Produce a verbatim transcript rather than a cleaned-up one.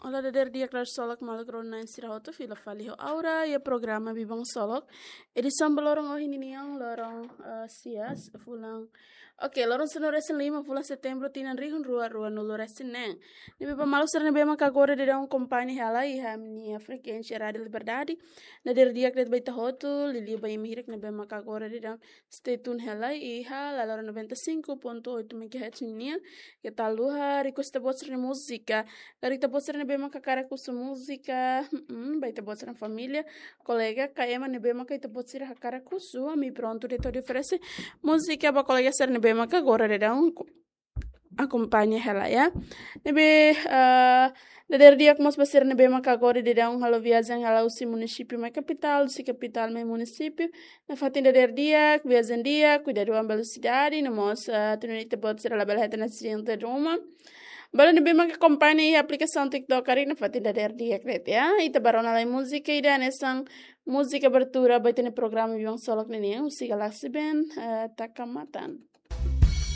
Olá, dader di'ak, dader solok, maluk rona sira hotu, fila fali ho Aura, iha programa Biban Solok. Edisaun ba loron ohin ninian, loron, eh, sia, fulan. Oke, loron sanulu-resin-lima, fulan Setembru, tinan rihun rua ruanulu-resin-neen. Ne'ebé ba maluk sira ne'ebé maka agora daudaun akompaña hela iha ami-nia frekuénsia Rádio Liberdade. Dader di'ak de'it ba ita hotu, liuliu ba imi hirak ne'ebé maka agora daudaun stay tune hela iha Lalora noventa e cinco ponto oito megahertz nian. Keta haluha request ita-boot sira-nia múzika. Karik ita-boot sira ne'ebé maka hakarak husu múzika, mm, ba ita-boot sira-nia família, kolega, ka ema ne'ebé maka ita-boot sira hakarak husu, ami prontu de'it hodi oferese múzika ba kolega sira ne'ebé maka agora daudaun akompaña hela, ya. Ne'ebé, ah, dader di'ak mós ba sira ne'ebé maka agora daudaun halo viajen hela husi munisípiu mai kapitál, husi kapitál mai munisípiu. Nafatin dader di'ak, viajen di'ak, kuidadu ho velosidade, no mós, ah, atu nune'e ita-boot sira labele hetan asidente ruma. Ba ema ne'ebé maka akompaña iha aplikasaun TikTok karik, nafatin dader di'ak de'it, ya. Ita bá rona lai múzika ida hanesan múzika abertura ba ita-nia programa Biban Solok ninian, husi Galaxy Band, eh, Taka Matan.